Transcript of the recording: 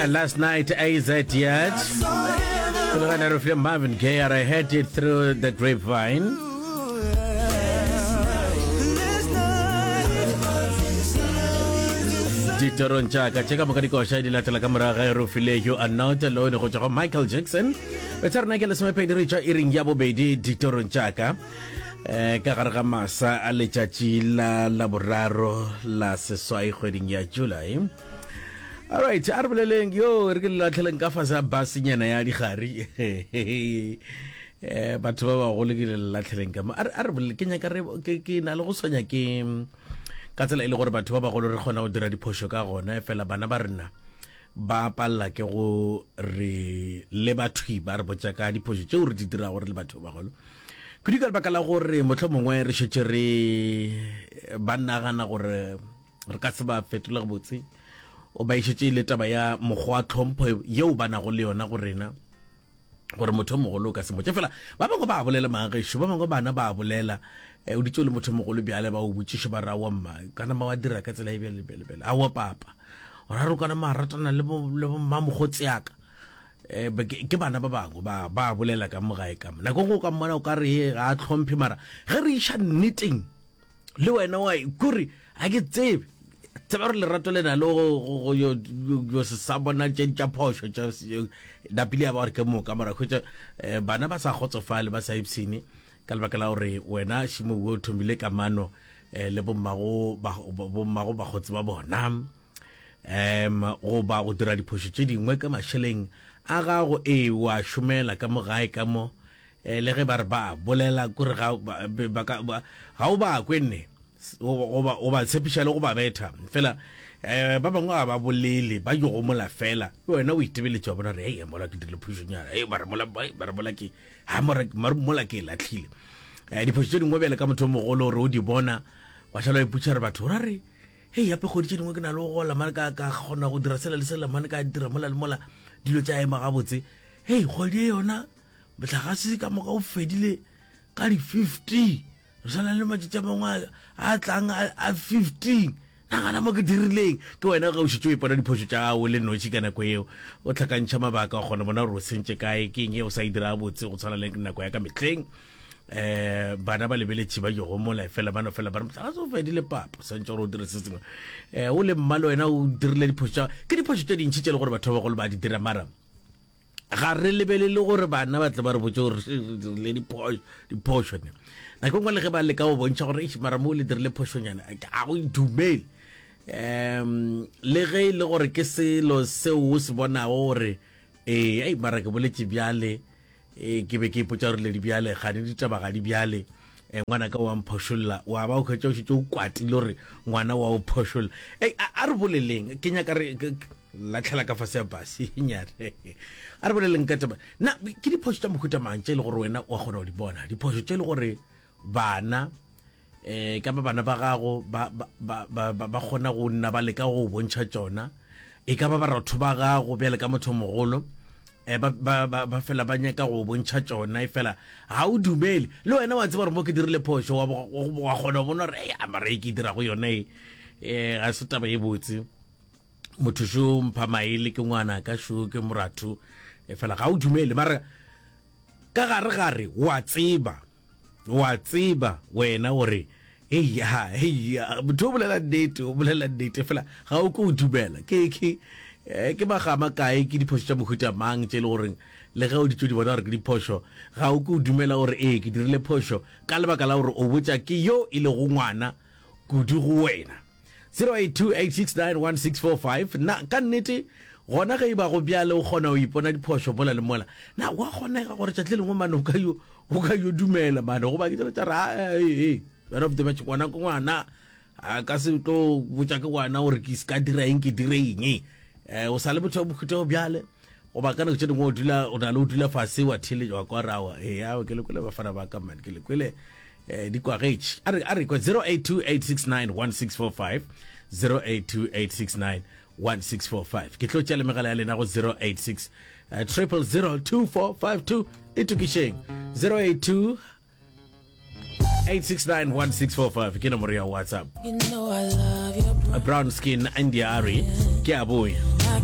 Last night AZ yet. Pele ga re Marvin Gaye I heard it through the grapevine. Ditorong tša ka tše ka moka dikoša di latela ka morago ga e re file You Are Not Alone go tšwa go Michael Jackson. Betsa rena ke lesomepedi re tšwa iring ya bobedi ditorong tša ka. Eh, ka gare ga masa a letšatši la laboraro la seswai kgweding ya July. Alright, a re boleleng yo re ke le latlheleng ka fase a basenyana ya digari. Eh, batho ba bagolo ke le latlheleng ka mo. A re bolele ke nyaka re ke na le go swanya ke ka tsela e le gore batho ba bagolo re kgona go dira diphošo ka gona fela bana ba rena ba palela ke go re leba thwi ba re botša ka diphošo tšeo re di dirago re le batho ba bagolo kudu ka lebaka la gore mohlomongwe mongwe re šetše re ba nagana gore re ka se ba fetole gabotse o ba išetše le taba ya mokgwa wa tlhompho yeo ba nago le yona go rena gore motho o mogolo o ka se motše fela ba bangwe ba bolela maagešo ba bangwe bana ba bolela eh, o ditse o le motho mogolo bjale ba o botšiše ba ra wa mma kana ma wa dira ka tsela e bjale bjale bjale aowa papa ora re kana ma ratana le bo le bo mmamogotsi yaka eh, ke bana ba bangwe ba ba bolela ka mo gae ka mo nako go ka mmona o ka re ga a tlhomphe mara ge re iša nneteng le wena wa kore ga ke tsebe tseba gore lerato le na le go yo se sa bona tše tša phošo tša napile ya ba gore ke moka mara hwetša eh, bana ba sa kgotsofale ba sa ipshine ka lebaka la gore wena šimo o thomile kamano eh, le bommago bommago bakgotsi ba bona um goba go dira diphošo tše dingwe ka mašeleng a gago ee wa šomela ka mo gae ka mo Eh, le ge ba re ba bolela kore ga ga o ba kwe nne goba o ba tshepiša le go ba betha fela um ba bangwe ga ba bolele ba yo gomola fela wena o itebeletše wa bona re ei mola ke dirile phošonyana ei mara mola mara mola ke ha mara mola ke e latlhile um diphošo tše dingwe bjale ka motho o mogolo gore o di bona wa šala o ipotša re batho ra re hei gape kgwedi tše dingwe ke na le go gola mane ka ka kgona go dira sela le sela mane ka dira mola le mola dilo tša ema gabotse hei kgwedi e yona Mohlagase ka moka o fedile ka di 15. Re sa na le matšatši a mangwe a tlang a 15. Nagana mo ke dirileng. Ke wena ge o šetše o ipona diphošo tša gago le noši ka nako yeo. O hlakantšha mabaka, wa kgona bona gore o sentše kae, ke eng ye o sa e dira gabotse go tshwana le nako ya ka mehleng. Um bana ba lebeletše ba yo gomola fela ba no fela ba re mohlagase o fedile papa, o swantše gore o dire se sengwe. Um o le mma le wena o dirile diphošo tša ke diphošo tše dintši tše e le gore batho ba bagolo ba di dira mara ga re lebelele gore bana ba tle ba re botse gore re dirile diphošo ne nako nngwe le ge ba leka go bontšha gore eish mara mo le dirile phošonyana ga go dumele um le ge e le gore ke selo seo o se bonago gore ee ei mara ke boletše bjale ee ke be ke ipotša gore ledi bjale gane ditaba ga di bjale um ngwana ka wa mphošolla wa ba o kgwetša o šetše o kwatile gore ngwana wa o phošolla ei a re boleleng ke nyaka re latlhela ka fase ya base nyane a re boleleng ka taba na ke diphošo tša mohuta mang tše e le gore wena wa kgona go di bona diphošo tše e le gore bana eh ka ba bana ba gago ba ba ba ba kgona go nna ba leka go bontšha tšona e ka ba baratho ba gago bjale ka motho mogolo eh ba ba ba fela ba nyaka go bontšha tšona e fela ga o dumele le wena wa tseba gore mo ke dirile phošo wa wa kgona go bona gore ei mara e ke dira go yone e eh ga se taba e botse motho šo mpha maele ke ngwana ka šo ke moratho e fela ga o dumele mara ka gare gare wa tseba wa tseba wena gore eya eya motho o bolela nnete o bolela nnete fela ga o ke o dumela ke ke eh, ke magama kae ke diphošo tša mohuta mang tše e le goreng le ge o di tšo di bona gore ke diphošo ga o ke o dumela gore ee ke dirile phošo ka lebaka la gore o botša ke yo e lego ngwana kudu go wena 0828691645 Na ka nnete gona ge e ba go bjale o kgona go ipona diphošo mola le mola? Na go a kgonega gore tšatši le lengwe mane o ka yo o ka yo dumela mane goba ke tsela tša re ee man of the match ngwana ke ngwana a ka se tlo botša ke ngwana gore ke se ka dira eng ke dire eng um o sa le motho wa mohuta o bjale goba ka nako tše dingwe o dula o na le o dula fase wa theletša wa kwa rawa ee ao ke le kwele bafana ba ka man ke le kwele eh, di kwagetše a re a re kwa 0828691645 0828691645 ke tlo tšea le megala ya lena go 086 000 2452 itokišeng 082 8691645 ke nomoro ya whatsapp You know I love your brown skin india ari ke a boya.